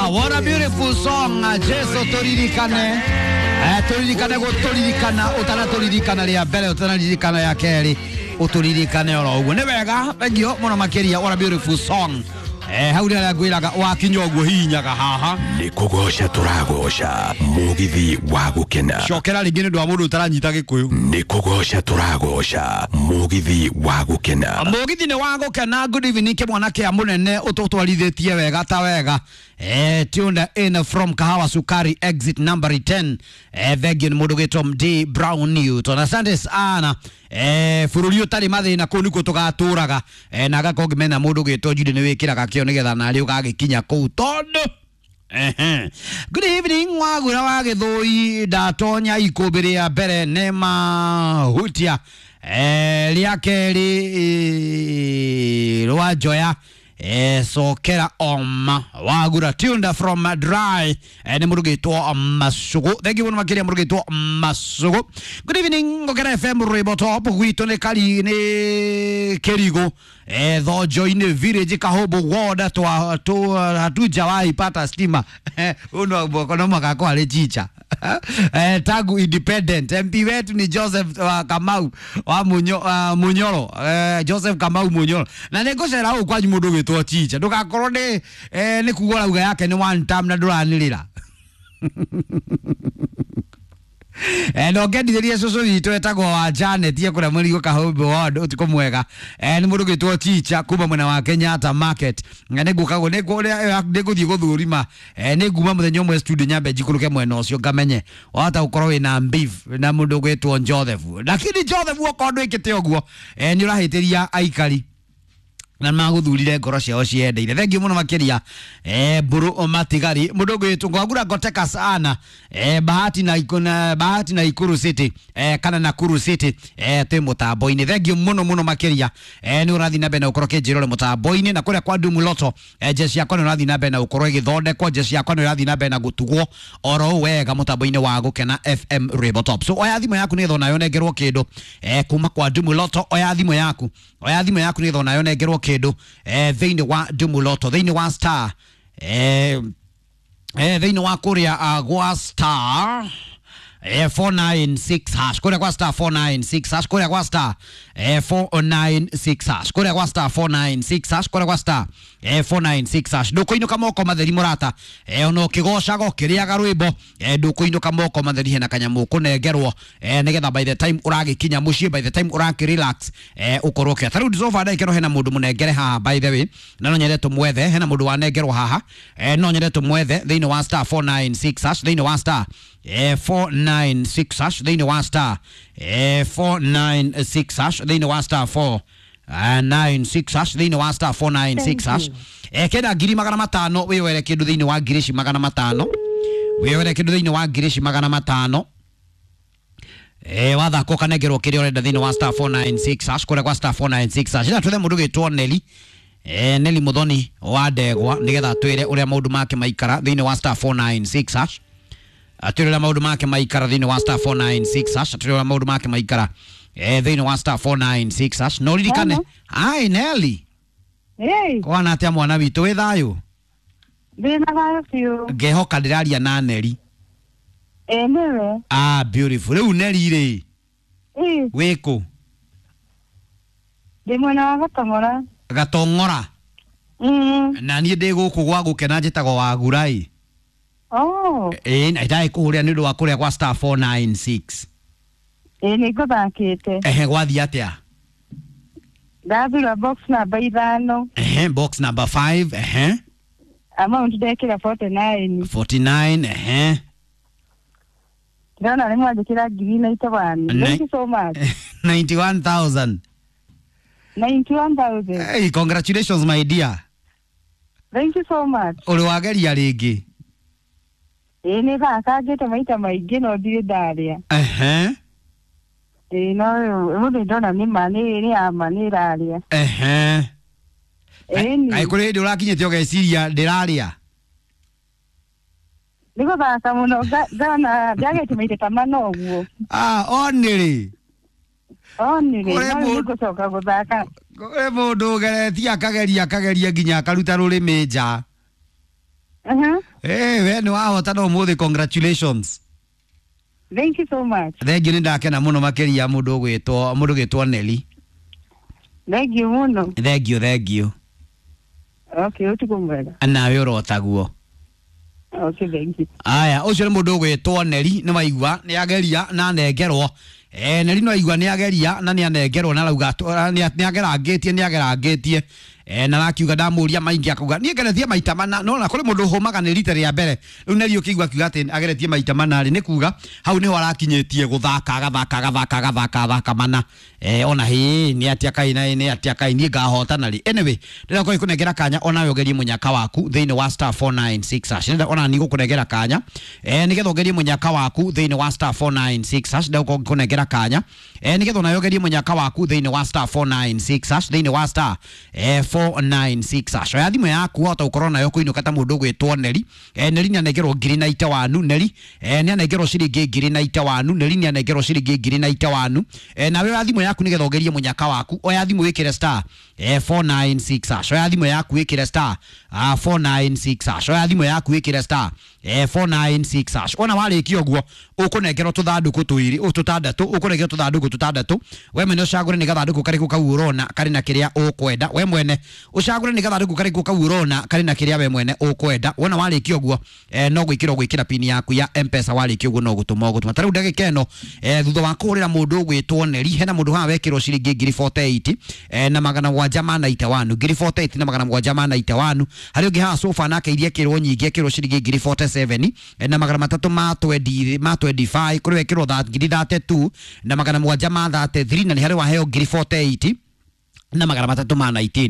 What a beautiful song. Jesu turirikane. Turirikane guturirikana utanaturirikana ria mbere utanaririkana ya keri uturirikane oro uguo. Ni wega thengio muno makiria. What a beautiful song. Hau rĩrĩa ngwĩraga wakinya ũguo hihinyaga haha. Nĩ kũgoca tũragoca mũgithi wa gũkena. Cokera rĩngĩ nĩ ũndũ wa mũndũ ũtaranyita gĩkũyũ. Nĩ kũgoca tũragoca mũgithi wa gũkena. Mũgithi nĩ wa gũkena. Good evening kĩmwana kĩa mũnene ũtũtwarithĩtie wega ta wega. Tuned in from Kahawa Sukari exit number 10. Thengio nĩ mũndũ gwĩtwo MD Brown Newton. Asante sana. Bũrũri ũtarĩ mathĩna kũu nĩkuo tũgatũraga. Na agakorwo ngĩmenya mũndũ gwĩtwo Judy nĩ wĩkĩraga kĩo nĩgetha narĩ ũgagĩkinya kũu tondũ. Good evening wagura wa gĩthũi ndatonya ikũmbĩ rĩa mbere nĩ mahutia rĩa kerĩ rwa njoya cokera oma wagura tunda from dry nĩ mũndũ gĩtwo Masugu. Thank you mũno makĩria mũndũ gĩtwo Masugu. Good evening Ngokera FM rwĩmbo top gwitũ nĩ kari nĩ Kĩrigũ Thonjo-inĩ village Kahũmbũ ward hatujawahi pata stima. Uno no mwaka kwa arĩ chicha. Tangu independent MP wetu ni Joseph Kamau wa Munyoro. Joseph Kamau Munyoro. Na nĩ ngũcera gũkũ kwanyu mũndũ ũgĩtwo chicha ndũgakorwo nĩ nĩ kuga ũrauga yake nĩ one time na ndũranĩrĩra. No ngendithĩrie cũcũ witũ etagwo wa Janet ye kũrĩa Mũrigo Kahũmbĩ ward ũtukũ mwega. Nĩ mũndũ ũgĩtwo Chicha kuma mwena wa Kenyatta Market. Nĩ ngũkagwo nĩ ngũthiĩ gũthũrima. Nĩ nguma mũthenya ũmwe studio nyambe njikũrũke mwena ũcio ngamenye wahota gũkorwo wĩna beef na mũndũ ũgwĩtwo Joseph. Lakini Joseph okorwo ndwĩkĩte ũguo nĩ ũrahĩtĩria aikari na magũthurire ngoro ciao ciendeire. Thengiũ mũno makĩria mbũrũ matigari mũndũ ũgwĩtwo ngwagura ngoteka sana bahati na ikuna bahati na Ikuru City kana Nakuru City twĩ mũtambo-inĩ. Thengiũ mũno mũno makĩria nĩ ũrathiĩ na mbere na ũkorwo kĩnjĩrore mũtambo-inĩ na kũrĩa kwa Dumu Lotto jeshi yakwa nĩ ũrathiĩ na mbere na ũkorwo ĩgĩthondekwo jeshi yakwa nĩ ũrathiĩ na mbere na gũtugwo oro ũũ wega mũtambo-inĩ wa Gũkena FM Rwĩmbo Top. So oya thimũ yaku nĩgetha onayo ũnengerwo kĩndũ kuma kwa Dumu Lotto. Oya thimũ yaku, oya thimũ yaku nĩgetha onayo ũnengerwo kĩndũ thĩinĩ wa Dumu Lotto, thĩinĩ wa star thĩinĩ wa kũrĩa gwa star 496 hash, kũrĩa kwa star 496 hash, kũrĩa kwa star 496 hash, kũrĩa kwa star 496 hash, kũrĩa kwa star 496 hash. Ndũkũinũka moko matheri mũrata, ona ũkĩgocaga ũkĩrĩaga rwĩmbo ndũkũinũka moko matheri hena kanyamũ ũkũnengerwo nĩgetha by the time ũragĩkinya mũciĩ, by the time ũrakĩ relax ũkorwo ũkĩoya. Ta rĩu Zofa ndagĩka ĩno hena mũndũ mũnengere haha by the way, na no nyende tũmwethe. Hena mũndũ wanengerwo haha no nyende tũmwethe thĩinĩ wa star 496 hash, thĩinĩ wa star 496 hash, thĩinĩ wa star 496 hash, thĩinĩ wa star 496 hash, thĩinĩ wa star 496 hash. Kenda 500,000 wĩyoere kĩndũ thĩinĩ wa 500,000 wĩyoere kĩndũ thĩinĩ wa 500,000. Wathaka ũkanengerwo kĩrĩa ũrenda thĩinĩ wa star 496 hash, kũrĩa kwa star 496 hash. Ĩna twethe mũndũ ũgĩtwo Nelly Nelly Muthoni wa Ndegwa nĩgetha atwĩre ũrĩa maũndũ make maikara thĩinĩ wa star 496 hash, atwĩre ũrĩa maũndũ make maikara thĩinĩ wa star 496 hash, atwĩre ũrĩa maũndũ make maikara thĩinĩ wa star 496 hash. No ririkane ai Nelly. Hey, kwana atĩa mwana witũ wĩ thayũ? Ndĩna thayũ biũ. Ngehoka ndĩraria na Nelly. Ĩ nĩwe. Ah, beautiful. Rĩu Nelly rĩ, Ĩ, wĩkũ? Ndĩ mwena wa Gatong'ora. Gatong'ora? Na niĩ ndĩ gũkũ gwa Gũkena njĩtagwo Wagurai. Oh, ĩ na ndagĩ kũhũrĩra nĩ ũndũ wa kũrĩa kwa star 496. Ĩ nĩ ngũthakĩte. Ehe, gwathiĩ atĩa? Ndathura box namba 5. Ehe, box number 5, ehe. Amount ndekĩra 49. 49, ehe. Ndĩrona nĩ mwanjĩkĩra 91,000. Thank you so much. 91,000. 91,000. Hey, congratulations my dear. Thank you so much. Ũrĩ wageria rĩngĩ? Ĩ nĩ thakangĩte maita maingĩ no ndirĩ ndarĩa. Ehe. Ĩ no ũmũthĩ ndona nĩ ma nĩ ama nĩ ĩrarĩa. Ehe. Ĩ ni. Kaĩ kũrĩ hĩndĩ ũrakinyĩte ũgeciria ndĩrarĩa? Nĩ gũthaka mũno ngona ndiagĩte maita ta mana ũguo. Ah, onĩrĩ. Onire, Kũrĩ no mũndũ- nĩ ngũcoka gũthaka. Kũrĩ mũndũ ũgeretie akageria akageria nginya akaruta rũrĩmĩ nja. Eh, we nĩ wahotana ũmũthĩ, congratulations. Thank you so much. Thengiũ, nĩ ndakena mũno makĩria mũndũ ũgwĩtwo, mũndũ ũgwĩtwo Neli. Thank you mũno. Thengiũ, thengiũ. Okay, ũtukũ mwega. Nawe ũrotaguo. Okay, thank you. Aya, ũcio nĩ mũndũ ũgwĩtwo Neri, nĩ waigua nĩ ageria na anengerwo. Eh, Neri no aigua nĩ ageria na nĩ anengerwo na arauga nĩ agerangĩtie, nĩ agerangĩtie. Eh, na arakiuga ndamũria maingĩ akauga niĩ ngeretie maita mana, no na kũrĩ mũndũ ũhũmaga nĩ rita rĩa mbere. Rĩu Neri ũkĩigua akiuga atĩ ageretie maita mana rĩ, nĩ kuga hau nĩho arakinyĩtie gũthaka, agathaka, agathaka, agathaka, agathaka mana. Eh, ona hĩ nĩ atia kai na nĩ atia kai niĩ ngahotana rĩ. Anyway, ndĩrenda gũkorwo ngĩkũnengera kanya onawe ũgerie mũnyaka waku thĩinĩ wa star 496 hash. Ndĩrenda ona niĩ gũkũnengera kanya, eh, nĩgetha ũgerie mũnyaka waku thĩinĩ wa star 496 hash. Ndĩrenda gũkorwo ngĩkũnengera kanya, eh, nĩgetha onawe ũgerie mũnyaka waku thĩinĩ wa star 496 hash, thĩinĩ wa star, eh, 496 hash. Oya thimũ yaku wahota gũkorwo nayo kũinũka ta mũndũ ũgwĩtwo Neri. Eh, Neri nĩ anengerwo ngiri na ite wanu. Neri, eh, nĩ anengerwo ciringi ngiri na ite wanu. Neri nĩ anengerwo ciringi ngiri na ite wanu. Eh, nawe oya thimũ yaku nĩgetha ũgerie mũnyaka waku. Oya thimũ wĩkĩre star, eh, 496 hash. Oya thimũ yaku wĩkĩre star, ah, 496 hash. Oya thimũ yaku wĩkĩre star, eh, 496 hash. Ona warĩkia ũguo ũkũnengerwo tũthandũkũ tũirĩ tũtandatũ, ũkũnengerwo tũthandũkũ tũtandatũ. We mwene ũcagũre nĩ gathandũkũ karĩkũ kau ũrona karĩ na kĩrĩa ũkwenda. We mwene ũcagũre nĩ gathandũkũ karĩkũ kau ũrona karĩ na kĩrĩa we mwene ũkwenda. Wona warĩkia ũguo, eh, no gwĩkĩra ũgwĩkĩra pini yaku ya M-Pesa. Warĩkia ũguo no gũtũma ũgũtũma. Ta rĩu ndagĩka ĩno, eh, thutha wa kũhũrĩra mũndũ ũgwĩtwo Neri, hena mũndũ haha wekĩrwo ciringi ngiri 48, eh, na magana mũgwanja ma 91, ngiri 48 na magana mũgwanja ma 91. Harĩ ũngĩ haha sofa nake iria ĩkĩrwo nyingĩ, ĩkĩrwo ciringi ngiri 47, eh, na magana matatũ ma 20 ma 25. Kũrĩ wekĩrwo ngiri 32 na magana mũgwanja ma 33, na nĩ harĩ waheo ngiri 48 na magana matatũ ma 19.